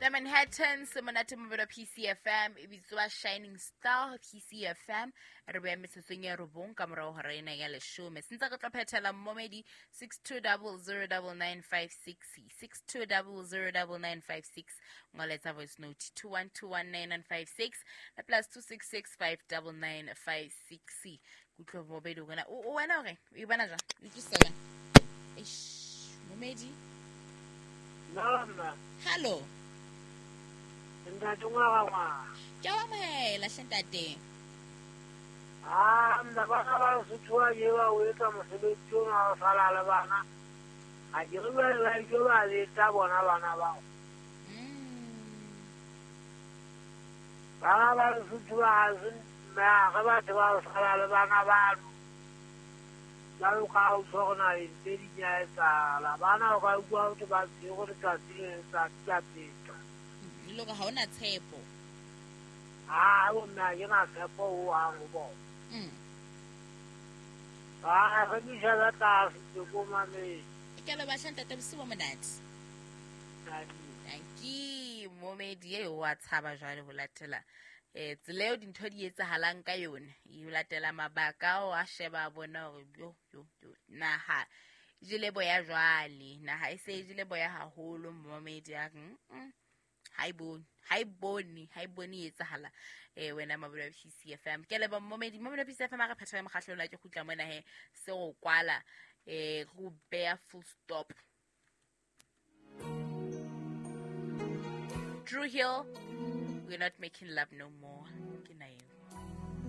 The Manhattan se monate mobelo PCFM e bitswa Shining Star PCFM re beya metsotsong ya robong ka morago hora ena ya leshome. Se ntse re tlo phethela mmomedi 62009956 62009956 ngoletsa voice note 21219956 le plus 26659956. Kutlwa momedi wena o wena o reng? O e bona jwang? O utlwisisa wena? Eish, momedi. Nna. Hallo. Ntate ngwana ngwana. Ke a o amohela hle ntate. Ah, nna bana ba Sotho ba je ba o etsa mosebetsi ona wa ho sala le bana. Ha ke re jwale ba ile ba leta bona bana bao. Bana ba Lesotho ba ha se mme ha re batho ba ho sala le bana bano. Jwalo ka ha utlwa hore naheng tse ding ya etsahala. Bana o ka utlwa ho thwe ba tshwerwe letsatsi le letsatsi ka peta. Le hore ha hona tshepo. Ha bomme ha ke na tshepo hohang ho bona. Ha re dishebe tlase ke ko mametse. Ke a leboha hle ntate, bosiu bo monate. Tanki momedi eo wa tshaba jwale ho latela tsela eo dintho di etsahalang ka yone. E latela mabaka ao a sheba a bona hore yo yo yo naha e jele boya jwale, naha e se e jele boya haholo. Momedi a re ha e bone, ha e bone, ha e bone e etsahala. Wena mabelo a PCFM. Ke leboha momedi, mabelo a PCFM a re phethela mokgahlelo la ke kgutla mona he se go kwala go beya full stop. Dru Hill, we're not making love no more. Ke na eo.